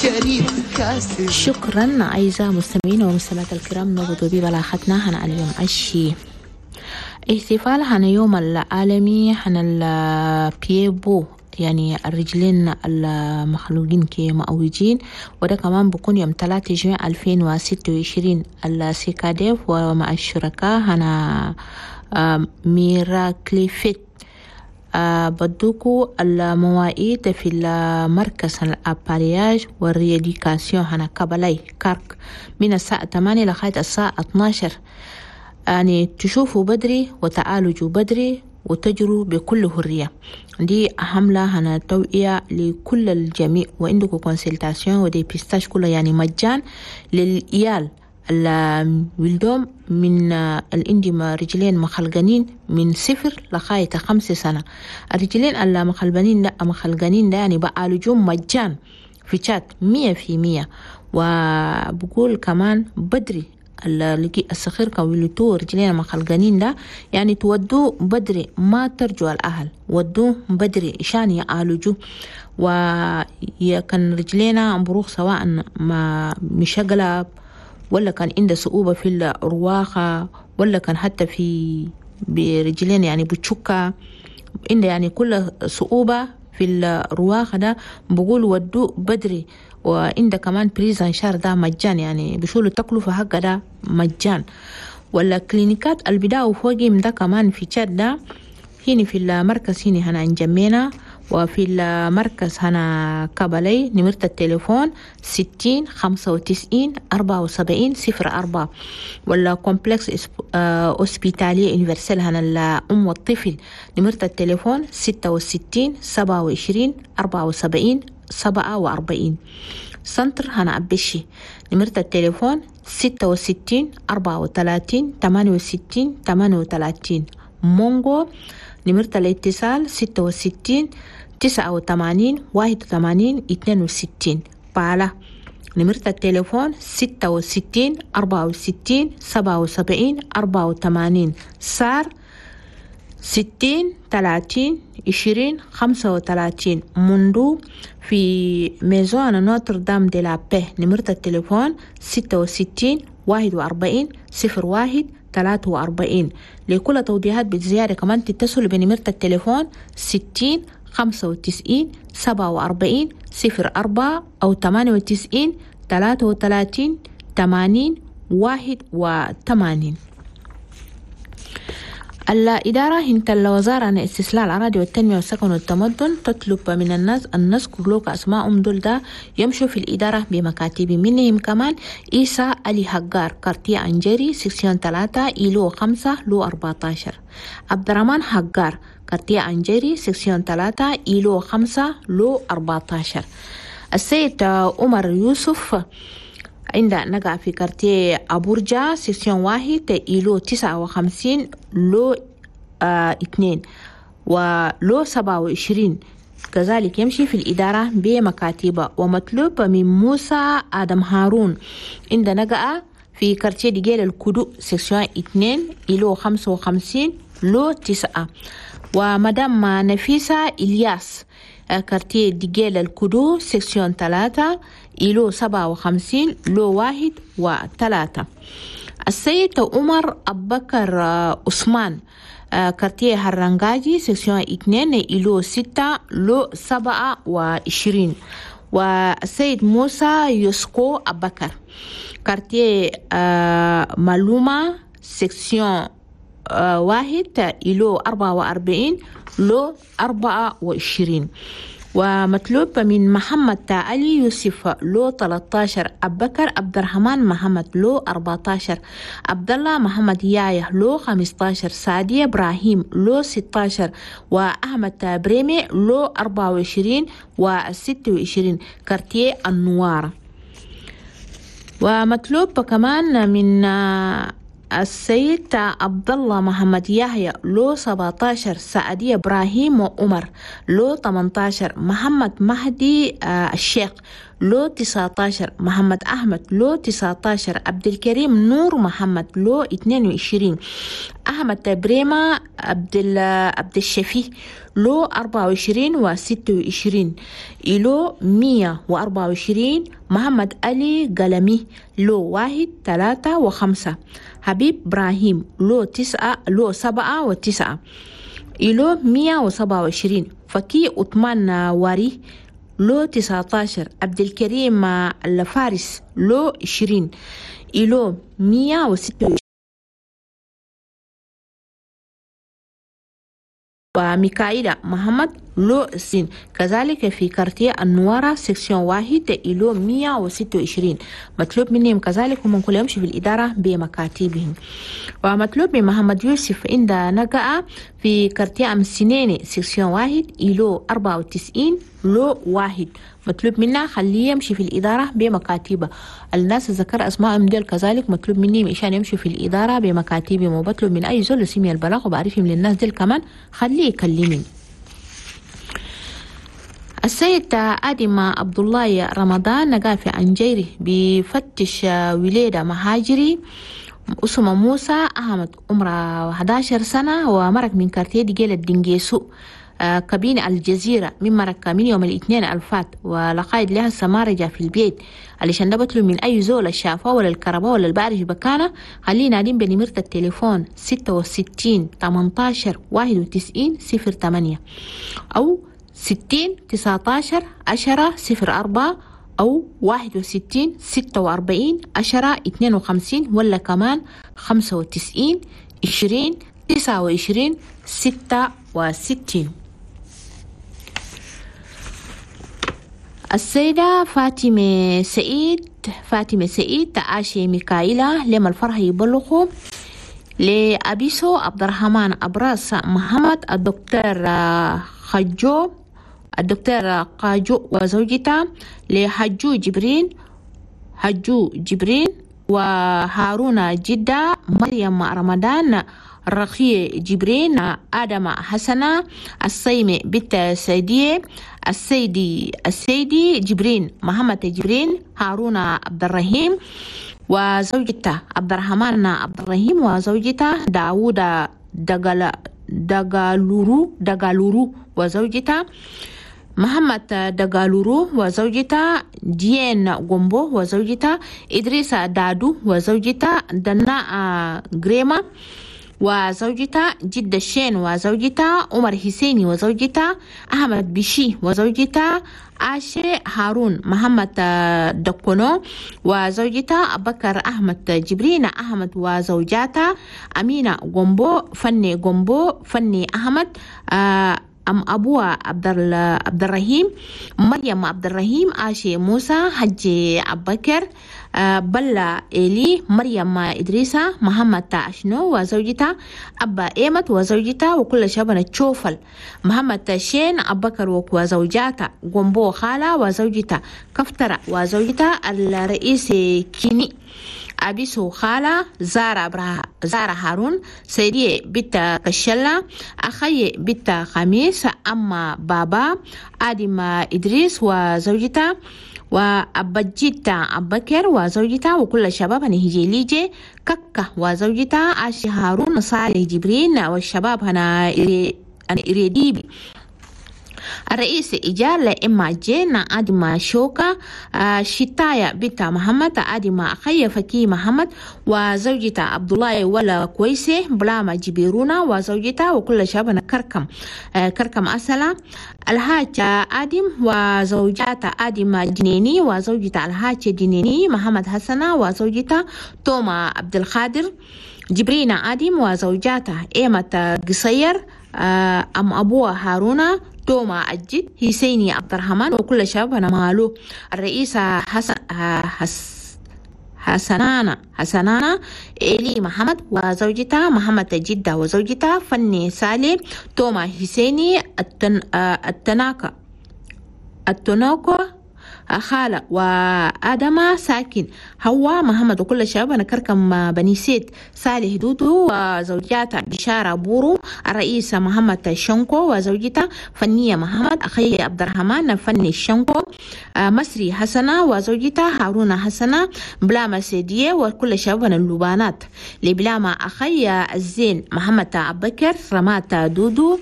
شريف خاسر. شكرا أعزائي المستمعين والمستمعات الكرام، نقضوا ببلاغتنا هنا اليوم الشي احتفال هنا يوم العالمي هنا ال pieds-pots، يعني الرجلين المخلوقين كمعوجين، وده كمان بكون يوم 3 جوان 2026. السيكاديف ومع الشركاء هنا ميراكليفيت بدوكو المواعيد في المركز ال appareillage وال rééducation هنا كبلاي كارك من الساعة 8 لغاية الساعة 12. يعني تشوفوا بدري وتعالجوا بدري وتجروا بكل حرية. دي حملة هنا توعية لكل الجميع، وعندكم consultation و dépistage كله يعني مجان للإيال الولدوم من الإندي رجلين مخلقانين من 0 لغاية 5 سنة. الرجلين اللي مخلقانين لا مخلقانين ده يعني بعالجوهم مجان في تشاد 100%. وبقول كمان بدري اللي الصغير كولتو رجلين مخلقانين ده يعني تودوه بدري، ما ترجوا الأهل، ودوه بدري عشان يعالجوه. وكان رجلينا بروخ سواء ما مشغلة ولا كان عنده صعوبة في الرواخة ولا كان حتى في برجلين يعني بتشكة عنده يعني كل صعوبة في الرواخة ده بقول ودوه بدري. وعنده كمان prise en charge ده مجان، يعني بشولوا التكلفة حقه ده مجان. ولا كلينيكات البداية فوقي ده كمان في تشاد ده هنا في المركز هنا هنا انجمينا، وفي المركز هنا كبلي نمرة التليفون 60 95 74 04. ولا complexe hospitalier universel هنا الأم والطفل نمرة التليفون 66 27 74 47. centre هنا أبشي نمرة التليفون 66 34 68 38. مونغو نمرة الاتصال 66 89 81 62. بالا نمرة التليفون 66 64 77 84. سار 60 30 20 35. موندو في maison Notre-Dame de la Paix نمرة التليفون 66 41 01 43. لكل توضيحات بالزيارة كمان تتصلوا بنمرة التليفون 60 95 47 04 أو 98 33 80 81. الإدارة هنت الوزارة عن استصلاح الأراضي والتنمية والسكن والتمدن تطلب من الناس أن نذكر لوك أسماءهم دول ده يمشوا في الإدارة بمكاتب منهم كمان إيسا علي هجار quartier أنجري section 3 îlot 5 lot 14. عبد الرحمن هجار quartier أنجري section 3 îlot 5 lot 14. السيد عمر يوسف عند نقع في quartier أبورجا section 1 îlot 59 lot 2 و lot 27. كذلك يمشي في الإدارة بمكاتبة. ومطلوب من موسى آدم هارون عند نقع في quartier ديجيل الكدو section 2 îlot 55 lot 9. ومدام نفيسة إلياس quartier ديجيل الكدو section 3 îlot 57 lot 1 و3. السيد عمر أبكر عثمان quartier هرنجاجي section 2 îlot 6 lot 27. والسيد موسى يسكو أبكر quartier مالوما section 1 îlot 44 lot 24. ومطلوب من محمد علي يوسف lot 13، أبكر عبد الرحمن محمد lot 14، عبد الله محمد يايا lot 15، سعدية إبراهيم lot 16، وأحمد بريمي lot 24 و26 quartier النوارة. ومطلوب كمان من السيد عبد الله محمد يحيى lot 17، سعدية إبراهيم وعمر lot 18، محمد مهدي الشيخ lot 19، محمد أحمد lot 19، عبد الكريم نور محمد lot 22، أحمد بريمة عبد الشفي لو 24 و26 إلو 124 محمد علي قلمي لو 1 3 و5 حبيب إبراهيم لو 9 لو 7 و9 إلو 127 فكي عثمان واري لو 19 عبد الكريم الفارس لو 20 إلو 126 وميكائيل محمد لو سين كذلك في quartier النوارة section 1 إلو 126 مطلوب منهم كذلك هم كل يمشي في الإدارة بمكاتبهم. ومطلوب من محمد يوسف عند نقع في quartier أم سنيني section 1 إلو 94 لو 1 مطلوب منا خليه يمشي في الإدارة بمكاتبه. الناس ذكر أسمائهم ديل كذلك مطلوب مني عشان يمشي في الإدارة بمكاتبهم، وبطلب من أي زول سمي البلاغ وبعرفهم للناس ديل كمان خليه يكلمني. السيد آدم عبد الله رمضان نقا في أنجيري بفتش ولادة مهاجري اسمه موسى أحمد عمره 11 سنة ومرق من quartier ديجيل الدنجيسو كابين الجزيرة من مرق من يوم الاثنين الفات ولقايد لها سمارجة في البيت علشان ده بطلب من أي زول الشافة ولا الكهرباء ولا البارج بكانة خلينا نادين بنمرة التليفون 66 18 91 08 أو 60 19 10 04 أو 61 46 10 52 ولا كمان 95 20 29 66. السيدة فاطمة سعيد تعاشي ميكائيلا لما الفرح يبلغوا لأبيسو عبد الرحمن أبراس محمد الدكتور خجو الدكتور قاجو وزوجته لحجو جبرين وهارون جدة مريم رمضان رخي جبرين آدم حسنة الصيمي بنت سيدية السيدي جبرين محمد جبرين هارون عبد الرحيم وزوجته عبد الرحمن عبد الرحيم وزوجته داوود دقالورو وزوجته محمد دقالورو وزوجته جين غومبو وزوجته إدريس دادو وزوجته دنا غريما وزوجته جد الشين وزوجته عمر حسيني وزوجته أحمد بشي وزوجته عاشي هارون محمد دكونو وزوجته بكر أحمد جبرين أحمد وزوجاته أمينة غومبو فني غومبو فني أحمد أم أبوها عبد الرحيم مريم عبد الرحيم عاشي موسى حجي أبكر بلا إلي مريم إدريسة محمد أشنو وزوجته أبا إيمت وزوجته وكل شبنا تشوفل محمد شين أبكر وزوجاته غومبو خالة وزوجته كفترة وزوجته الرئيس كيني أبيسو خالة زارة هارون سيدي بيت كشلة أخي بيت خميس أما بابا آدم إدريس وزوجته وأبجيتا أبكر وزوجته وكل الشباب هنهجي ليجي ككة وزوجته عاشي هارون صالح جبرين والشباب هنا إريديبي الرئيس إجال إما جينا آدم شوكا شتايا بيتا محمد آدم أخي فكي محمد وزوجته عبد الله ولا كويسة بلاما جبيرونا وزوجته وكل شابنا كركم أسلا الحاج آدم وزوجته آدم جنيني وزوجته الحاج جنيني محمد حسنة وزوجته توما عبد القادر جبرينا آدم وزوجاته إيمة قصير أم أبوها هارونا توما الجد حسيني عبد الرحمن وكل شبابنا مالو الرئيس حسنانا إلي محمد وزوجته محمد جدة وزوجته فني سالي توما حسيني التناكا خالة وآدم ساكن هوا محمد وكل شبابنا كركم بني سيد صالح دودو وزوجاته بشارة بورو، الرئيس محمد شنكو وزوجته فنية محمد، أخي عبد الرحمن فني شنكو، مصري حسنة وزوجته هارون حسنة، بلاما سيدية وكل شبابنا اللبانات لبلاما أخي الزين محمد أبكر رمات دودو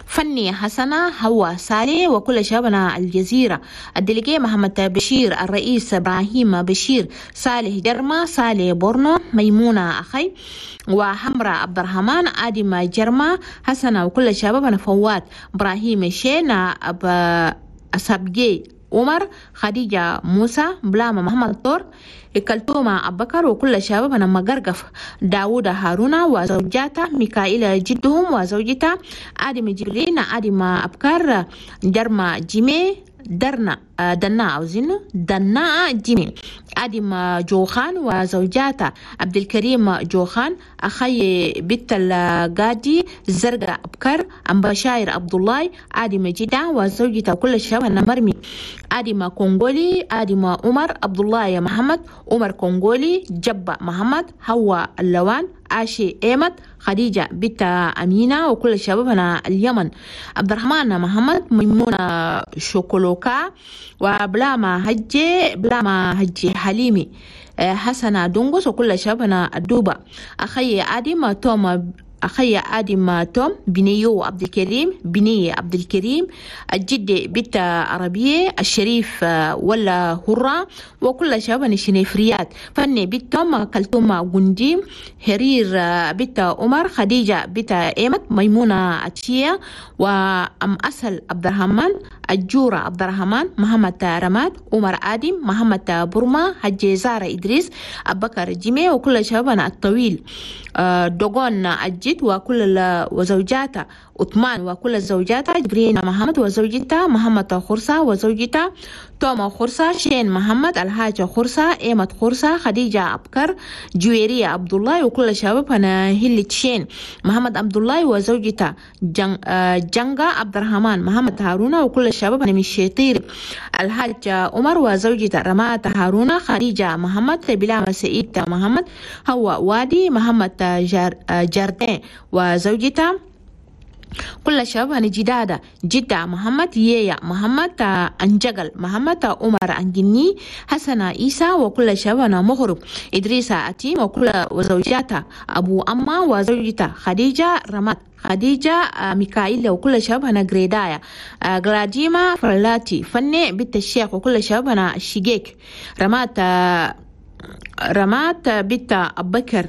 فني حسنة هوا سالي وكل شبابنا الجزيرة، الدليجي محمد بشير، الرئيس إبراهيم بشير، صالح جرما، صالح بورنو، ميمونة أخي وحمرة عبد الرحمن، آدم جرما حسنة وكل شبابنا فوات إبراهيم شينا أسابجي عمر، خديجة موسى، بلاما محمد طور، كلثومة أبكر وكل شبابنا مقرقف، داوود هارون وزوجاته، ميكائيل جدهم وزوجته، آدم جبرين، آدم أبكر، جرما جيمي، درنا دنا عاوزينه دنا جيمي، آدم جوخان وزوجاته، عبد الكريم جوخان، أخي بنت القادي الزرقاء أبكر، أم بشاير عبد الله، آدم جدة وزوجته كل شبابنا مرمي، آدم كونغولي، آدم عمر، عبد الله محمد، عمر كونغولي، جبة محمد، هوا اللوان، عاشي ايمت، خديجة بنت أمينة وكل شبابنا اليمن، عبد الرحمن محمد، ميمونة شوكولوكا، وبلاما هجي، بلاما هجي حليمي، حسنة دونغوس وكل شبابنا الدوبة، أخي آدم توم، أخي آدم توم، بنيو عبد الكريم، بنية عبد الكريم، الجدة بنت عربية، الشريف ولا هرة وكل شباب الشنيفريات، فني بنت توم، كلثوم غندي، هرير بنت عمر، خديجة بنت إيمت، ميمونة أتشية، وأم أسل عبد الرحمن، الجورة عبد الرحمن، محمد رماد، عمر آدم، محمد برما، حجي زارة إدريس، أبكر جيمي وكل شبابنا الطويل، دوغون الجد وكل وزوجاته، عثمان وكل زوجاته، جبرين محمد وزوجته، محمد خرسة وزوجته، توما خرسة، شين محمد، الحاجة خرسة، إيمت خرسة، خديجة أبكر، جويرية عبد الله وكل شبابنا هلة شين، محمد عبد الله وزوجته، جنجا عبد الرحمن، محمد هارون وكل شبابنا من الشيطير، الحاج عمر وزوجته، رمات هارون، خديجة محمد، بلام سعيد محمد، هو وادي، محمد جاردين وزوجته، كل شباب جدادة، جدة محمد، ييا محمد، أنجقل محمد، عمر أنجني، حسن عيسى وكل شباب مغرب، إدريس أتيم وكل وزوجاته، أبو أما وزوجته، خديجة رمات، خديجة ميكائيل وكل شبابنا غريدايا، غلاديما فرلاتي، فني بنت الشيخ وكل شبابنا الشقيق، رمات بنت أبكر.